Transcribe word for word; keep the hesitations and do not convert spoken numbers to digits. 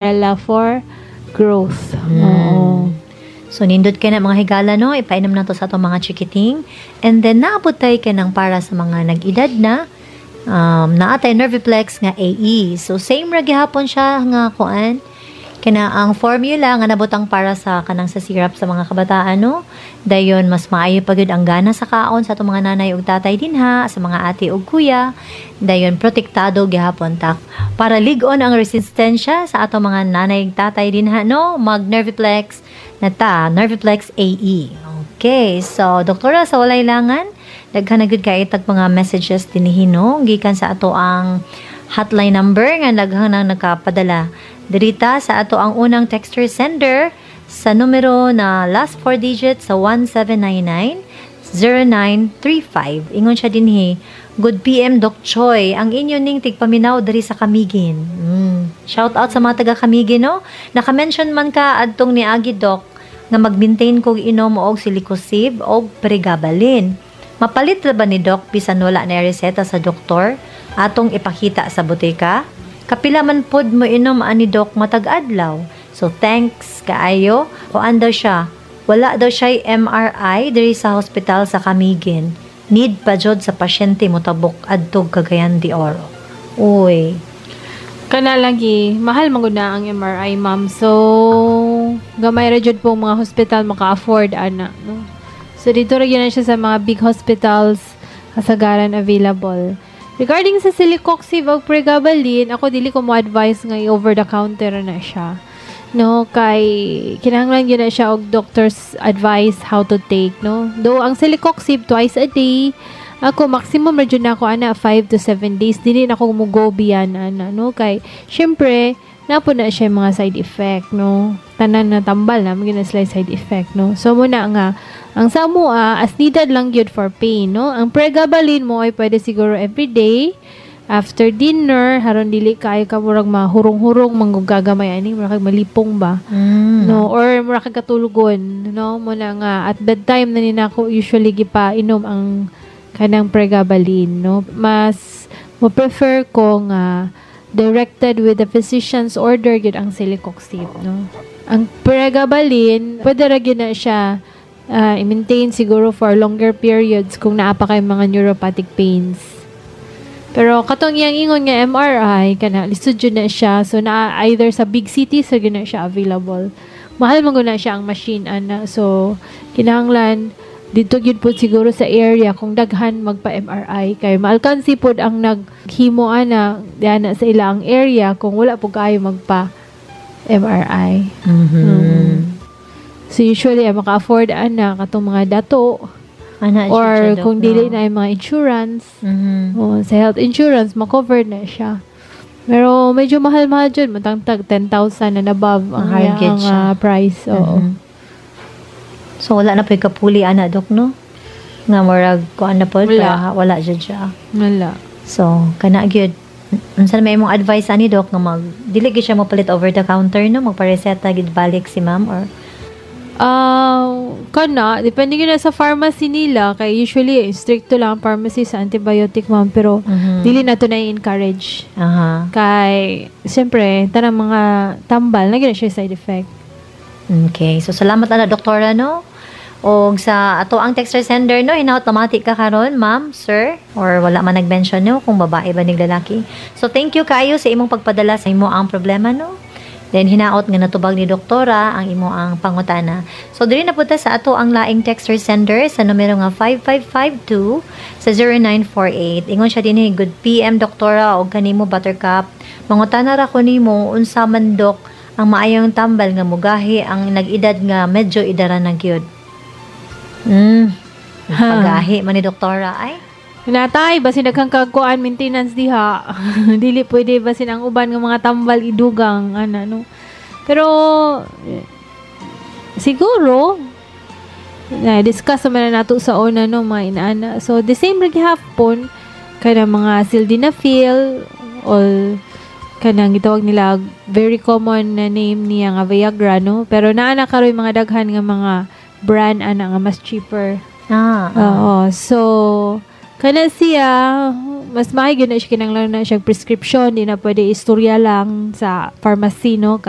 Umbrella for growth. Mm. Oo. So, nindot kay na, mga higala, no? Ipainom na to sa atong mga chikiting. And then, naabot tayo kay ng para sa mga nag-edad na. Um, naa tay Nerviplex nga A E. So, same ra gihapon siya nga kuan. Kana ang formula nga nabutang para sa kanang sa syrup sa mga kabataan, no? Dayon mas maayo pa gyud ang gana sa kaon sa atong mga nanay ug tatay dinha, sa mga ate ug kuya. Dayon protektado gihapon ta. Para lig-on ang resistensya sa atong mga nanay ug tatay dinha, no? Mag Nerviplex na ta, Nerviplex A E. Okay, so doktora, sa walay langan, daghan na gyud kay tag mga messages dinhi, no, gikan sa ato ang hotline number nga daghan nang nakapadala. Dirita sa ato ang unang texter sender sa numero na last four digits sa one seven nine nine zero nine three five. Ingon siya dinhi, "Good P M, Doc Choi, ang inyo ning tigpaminaw diri sa Camiguin." Mm. Shout out sa mga taga Camiguin, no? Naka-mention man ka adtong niagi, Doc, nga mag-maintain kog inom og Celecoxib og pregabalin. Mapalit ra ba ni, Doc, bisan wala na reseta sa doktor atong ipakita sa botika? Kapila man pod mo inom ani, Doc, matag adlaw? So thanks kaayo." Kuan daw siya. Wala daw siya M R I diri sa hospital sa Camiguin. Need pa jud sa pasyente motabok adtog Cagayan de Oro. Uy. Kana lagi, mahal man gud na ang M R I, ma'am. So, gamay ra jud po mga hospital maka-afford ana, no? So, dito ra gyud na siya sa mga big hospitals kasagaran available. Regarding sa celecoxib ug pregabalin, ako dili ko mo advise nga i-over the counter na siya. No, kay kinahanglan gyud na siya og doctor's advice how to take, no? Though ang celecoxib twice a day, ako maximum ra jud na ako ana five to seven days. Dili na ako mo go beyond ana, no, kay syempre naa po na siya yung mga side effect, no? Tanan na tambal na magina sila side effect, no? So muna nga ang sa amoa, as needed lang gyud for pain, no? Ang pregabalin mo ay pwede siguro every day after dinner, haron dili kaayo ka murag mahurong-hurong manggugagamay ani, murag kag malipong ba, Mm. no, or mura kag katulugon, no? Mo na nga at bedtime na ni nako usually gipa inom ang kanang pregabalin, no? Mas mo prefer ko nga directed with the physician's order gyud ang celecoxib, no? Ang pregabalin, pwede ra gyud na siya uh, i-maintain siguro for longer periods kung naa pa kay mga neuropathic pains. Pero katong iyang ingon nga M R I, kana lisod jud na siya. So na either sa big cities ra gyud na siya available. Mahal man gud na siya ang machine ana. So kinahanglan dito gyud po siguro sa area kung daghan magpa M R I kay maalkansi pod ang naghimo ana diana sa ilang area kung wala po kayo magpa M R I. Mhm. Mm. So usually ang maka-afford ana katong mga dato Ana, or siya, Doc, kung dili no? na yung mga insurance. Mhm. Oh, sa health insurance, ma-covered na siya. Pero medyo mahal-mahal dyan. Matangtag ten thousand and above ang, Mahal ang, gyud siya. ah, price. Oo. Mhm. So wala na po yung kapuli ana, Dok, no? Nga murag kuan na po Wala. wala, wala jud siya. Wala. So kana gyud. Unsa na may imong advice ani, Dok, nga mag dili gyud siya mopalit over the counter, no? Magpareseta gid balik si ma'am or Ah, kana, depende gyud na sa pharmacy nila kay usually stricto lang ang pharmacy sa antibiotic, ma'am, pero Mhm. dili na to na encourage. Aha. Kay siyempre tanang mga tambal na gyud na siya side effect. Okay. So salamat ana, doktora, no? Og sa ato ang texter sender, no, hinaut mamati ka karon, ma'am, sir, or wala man nag-mention, no, kung babae ba ning lalaki. So thank you kaayo sa imong pagpadala sa imo ang problema, no. Then hinaot nga natubag ni doktora ang imo ang pangutana. So diri na pud ta sa ato ang laing texter sender sa numero nga five five five two sa zero nine four eight. Ingon siya dinhi, "Good P M, doktora, og kanimo, Buttercup. Mangutana ra ko nimo, unsa man, Dok, ang maayong tambal nga mugahi ang nag-edad nga medyo idara na gyud?" Mm. Pagahi man ni doktora ay. Natay, basin daghang kagkuan maintenance diha. Dili pwede basin ang uban nga mga tambal idugang ana, no. Pero eh, siguro na discuss naman na nato sa una, no, mga inaana. So the same ra gihapon kanang mga sildenafil or kanang gitawag nila, very common na name niya nga Viagra, no. Pero naa na karon mga daghan nga mga brand ana nga mas cheaper. Ah, ah. Oo. So, kana siya, mas maayo gyud na siya, kinahanglan na siya prescription, di na pwede istorya lang sa pharmacy, no, kay